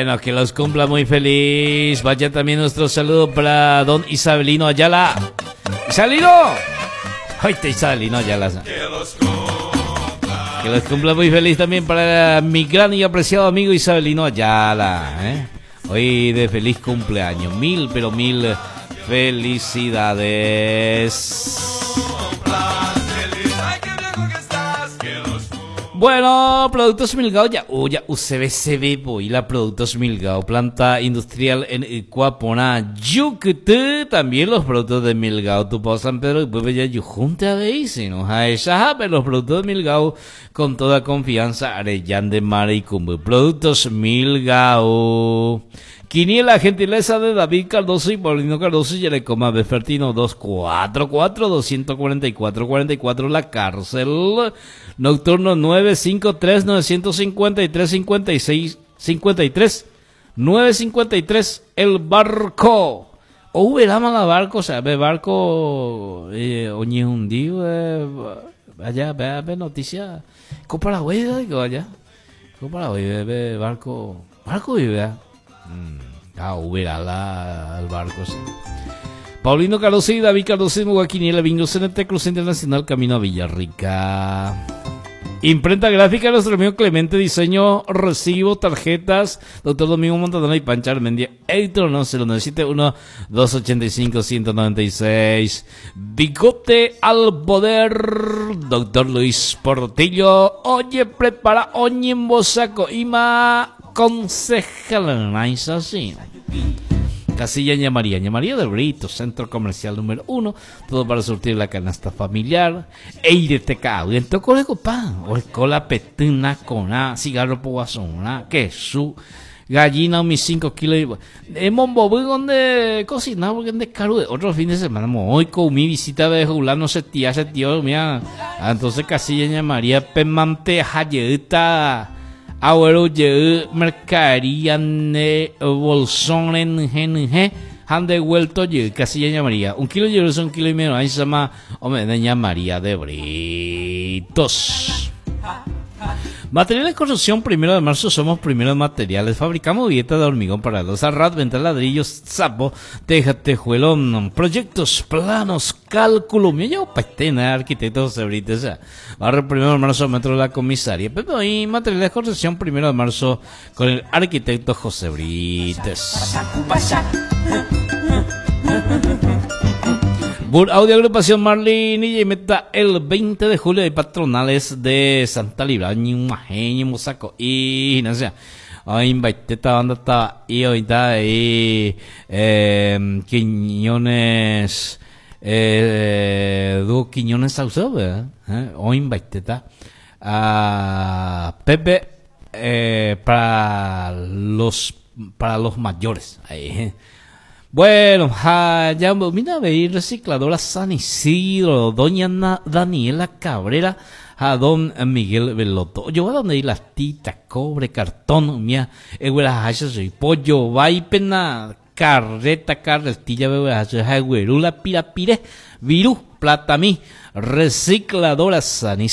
Bueno, que los cumpla muy feliz. Vaya también nuestro saludo para don Isabelino Ayala. ¡Isabelino! ¡Ay, te Isabelino Ayala! Que los cumpla muy feliz también para mi gran y apreciado amigo Isabelino Ayala. ¿eh? Hoy de feliz cumpleaños. Mil, pero mil felicidades. Bueno, Productos Milgao ya, ya UCBCB, voy la Productos Milgao, planta industrial en Icuapona, Yucatán, también los productos de Milgao, Tupao San Pedro, y pues ya junte a veis, no a los productos de Milgao con toda confianza, Arellán de Mar y Cumbe. Productos Milgao. Quiniela, gentileza de David Cardoso y Paulino Cardoso y Yerecoma Befertino 244-244-44 La Cárcel. Nocturno 953-953-56 53 953 El Barco. O verá la barco, o sea, ve barco eh, oñehundido, eh, allá, ve, ve noticia. Copa digo, allá. Copa ve, ve barco, barco y vea. Ah, verá la, el barco, sí. Paulino Cardoso y David Cardoso y Mugaquiniela, Bingo CNT Cruz Internacional, Camino a Villarrica. Imprenta gráfica, nuestro amigo Clemente, diseño, recibo, tarjetas, doctor Domingo Montadona y Pancha Armendia, Héctor no, 0971 285 196. Bigote al poder, doctor Luis Portillo, oye, prepara, oye, saco, ima, concejal, así. Casilla Ña María, Ña María del Brito, centro comercial número uno, todo para surtir la canasta familiar. Eire te cago, en tocó pan, o cola petina con a, cigarro poguazona, queso, gallina, mis 5 kilos. Hemos movido donde cocinar, porque de caro otro fin de semana, hoy con mi visita de Julano se tía, se tío, mira. Entonces Casilla Ña María, pemante, hayeta. Abuelo ye mercadería ne bolsón en G han devuelto ye Casilla Ña María. Un kilo de un kilo y medio. Ahí se llama hombre de Ña María de Britos. Materiales de construcción, primero de marzo somos primero de materiales. Fabricamos dieta de hormigón para los arrat, venta ladrillos, sapo, teja, tejuelón, proyectos, planos, cálculo. Me llevo patena, arquitecto José Brites. Barrio primero de marzo, metro de la comisaría. Pero y materiales de construcción, primero de marzo, con el arquitecto José Brites. Bur Audio Agrupación Marlin y meta el 20 de julio de patronales de Santa Libra, Mosaco y no sé. Ay, esta banda está y ahorita ahí eh, Quiñones eh, dúo Quiñones Saucedo, ¿verdad? ¿Eh? Hoy está ah, Pepe eh, para los mayores. Ahí. Bueno, ja, ya mira, veí recicladora San Isidro, doña Daniela Cabrera, a don Miguel Veloto. Yo voy a donde ir las titas, cobre, cartón, mía, soy pollo, vaipena, carreta, carretilla, bebé, pira, pire, virú, plata, mi, recicladora San Isidro.